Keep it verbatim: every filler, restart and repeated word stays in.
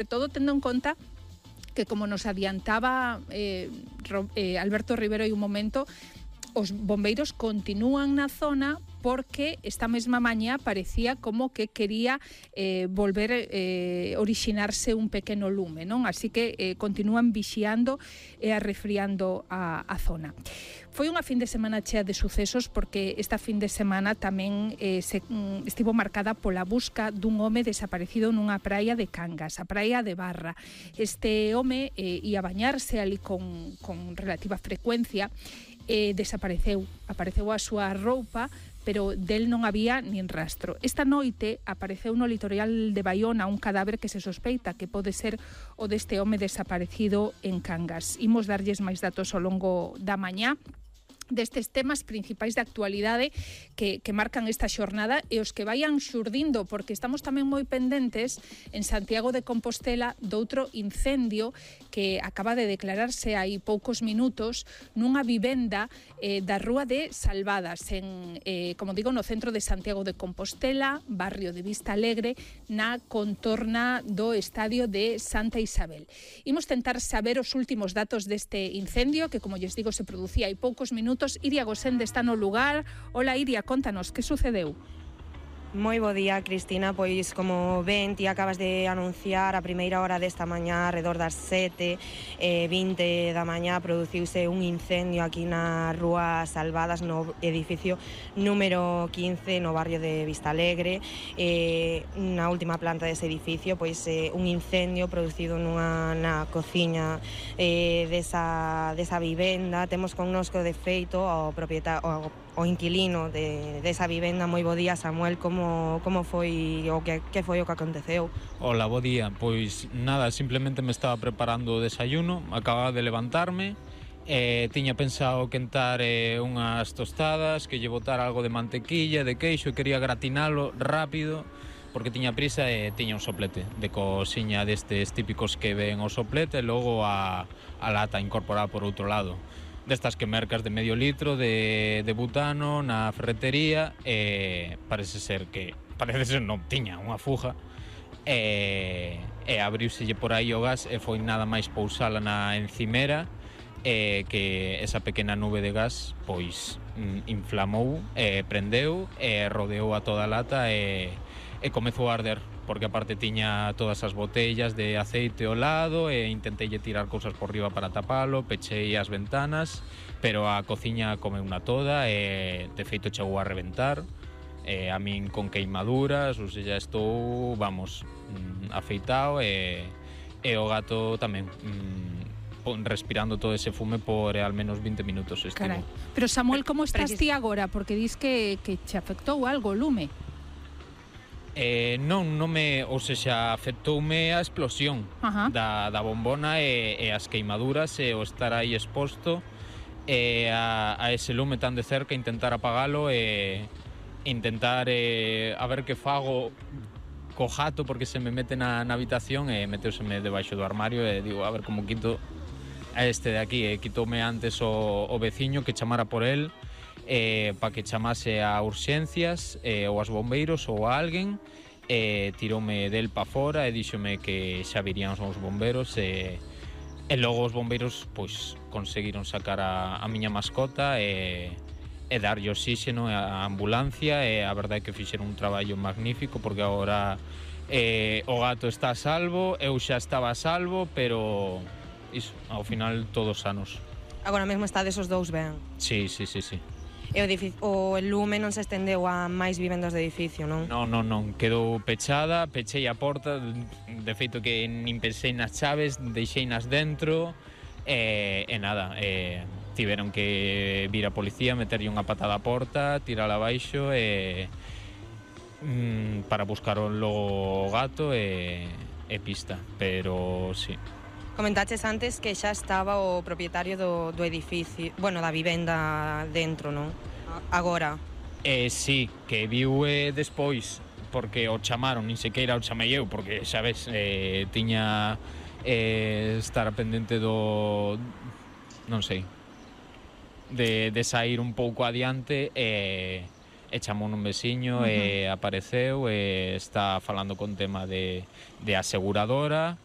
sobre todo tendo en conta que, como nos adiantaba eh, eh, Alberto Rivero hai un momento, os bombeiros continúan na zona porque esta mesma mañá parecía como que quería eh, volver eh, orixinarse un pequeno lume, non? Así que eh, continúan vixiando e arrefriando a, a zona. Foi unha fin de semana chea de sucesos porque esta fin de semana tamén eh, se, mm, estivo marcada pola busca dun home desaparecido nunha praia de Cangas, a praia de Barra. Este home eh, ia bañarse ali con, con relativa frecuencia e desapareceu. Apareceu a súa roupa, pero del non había nin rastro. Esta noite apareceu no litoral de Baiona un cadáver que se sospeita que pode ser o deste home desaparecido en Cangas. Imos darlles máis datos ao longo da mañá destes temas principais de actualidade que, que marcan esta xornada e os que vayan xurdindo, porque estamos tamén moi pendentes en Santiago de Compostela doutro incendio que acaba de declararse hai poucos minutos nunha vivenda eh, da Rúa de Salvadas, en, eh, como digo, no centro de Santiago de Compostela, barrio de Vista Alegre, na contorna do estadio de Santa Isabel. Imos tentar saber os últimos datos deste incendio que, como lles digo, se producía hai poucos minutos. Iria Gosende está no lugar. Hola, Iria, contanos, que sucedeu? Moi bo día, Cristina. Pois, como ben, ti acabas de anunciar, a primeira hora desta mañá, arredor das sete e vinte da mañá, produciuse un incendio aquí na Rúa Salvadas, no edificio número quince, no barrio de Vista Alegre. Eh, na última planta dese edificio, pois eh, un incendio producido nunha na cociña eh, desa, desa vivenda. Temos connosco, de feito, o propietario, o o inquilino de, desa vivenda. Moi bo día, Samuel. Como, como foi o que, que foi o que aconteceu? Hola, bo día. Pois nada, simplemente me estaba preparando o desayuno, acababa de levantarme, eh, tiña pensado quentar eh, unhas tostadas, que lle botar algo de mantequilla, de queixo, e quería gratinalo rápido porque tiña prisa e tiña un soplete de cosiña destes típicos que ven o soplete e logo a, a lata incorporada por outro lado, destas que mercas de medio litro de, de butano na ferretería, e parece ser que parece ser non tiña unha fuga e, e abriuselle por aí o gas e foi nada máis pousala na encimera e que esa pequena nube de gas pois inflamou e prendeu e rodeou a toda a lata e, e comezou a arder, porque aparte tiña todas as botellas de aceite ao lado e intentei tirar cousas por riba para tapalo, pechei as ventanas, pero a cociña comeu unha toda e de feito chegou a reventar, e a min con queimaduras, ou seja, estou, vamos, afeitado e, e o gato tamén respirando todo ese fume por al menos vinte minutos estivo. Carai. Pero Samuel, como estás ti agora? Porque dis que, que che afectou algo o lume. Eh, non, non me, ou seja, afectoume a explosión da, da bombona e, e as queimaduras e o estar aí exposto e a, a ese lume tan de cerca, intentar apagalo e intentar eh, a ver que fago co jato, porque se me mete na, na habitación e meteuseme debaixo do armario e digo, a ver como quito a este de aquí, e quitoume antes o, o veciño que chamara por el Eh, para que chamase a urxencias eh, ou as bombeiros ou a alguén, eh, tiroume del pa fora e díxome que xa virían os bomberos e, e logo os bombeiros pois conseguiron sacar a, a miña mascota e, e darlle oxíxeno a ambulancia, e a verdade é que fixeron un traballo magnífico, porque agora eh, o gato está a salvo, eu xa estaba a salvo, pero iso, ao final todos sanos. Agora mesmo estades os dous ben? Sí, sí, sí, sí. E o, o lume non se estendeu a máis vivendas do edificio, non? Non, non, non, quedou pechada, pechei a porta, de feito que nin pensei nas chaves, deixeinas dentro e, e nada, e tiveron que vir a policía, meterlle unha patada á porta, tirala abaixo e mm, para buscar logo o gato e, e pista, pero sí. Comentaches antes que xa estaba o propietario do, do edificio, bueno, da vivenda dentro, non? Agora. Eh, sí, que viu eh, despois, porque o chamaron, nin sequeira o chamei eu, porque, sabes, eh, tiña eh, estar pendente do, non sei, de, de sair un pouco adiante e, e chamou un veciño, uh-huh. e apareceu e está falando con tema de, de aseguradora.